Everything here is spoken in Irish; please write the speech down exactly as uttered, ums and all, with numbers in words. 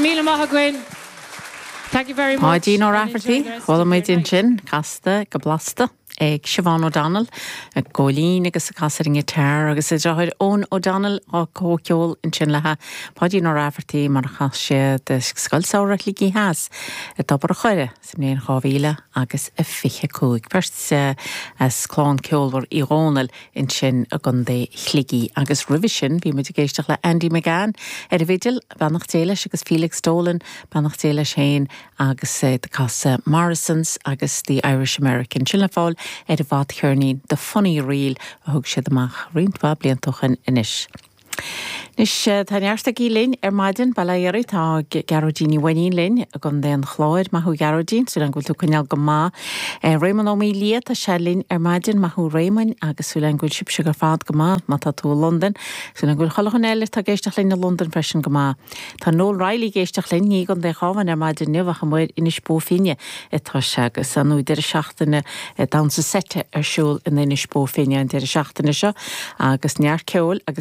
míle maith agaibh. Thank you very much. Páidín Ó Raifeartaigh, chuala muid ansin casta go blasta ag Siobhán O'Donnell, ag góilín agus ag casadh an guitar agus a deartháir Eoin O'Donnell á comhcheol ansin léi Páidín Ó Raifeartaigh mar a chas siad Scoil Samhraidh Shligigh Theas i dTobar an Choire sa mbliain dhá mhíle agus a fiche cúig. Beirt as clann ceolmhar Uí Dhónaill ansin i gContae Shligigh agus roimhe sin bhí muid ag éisteacht le Andy McGann ar an bhfidil beannacht Dé leis agus Felix Dolan beannacht Dé leis féin agus ag casadh Morrison's agus the Irish American sin le fáil ar an bhfadcheirnín The Funny Reel a thug siad amach roinnt mhaith blianta ó shin anois. Anois tá neart agaí linn ar maidin bail ó Dhia oraibh tá Gearóidín Ní Mhainnín linn i gContae an Chláir maith thú Gearóidín, súil go bhfuil tú coinneáil go maith. Réamonn Ó Mília tá sé linn ar maidin maith thú Réamonn agus súil go bhfuil sibhse ar fad go maith má tá tú i Londain, súil go bhfuil chuile dhuine eile atá ag éisteacht linn i Londain freisin go maith. Tá Noel Riley ag éisteacht linn ní i gContae an Chabháin ar maidin inniu ach amuigh in Inis Bó Finne atá sé agus an deireadh seachtaine damhsa seite ar siúl in Inis Bó Finne an deireadh seachtaine seo agus neart ceoil agus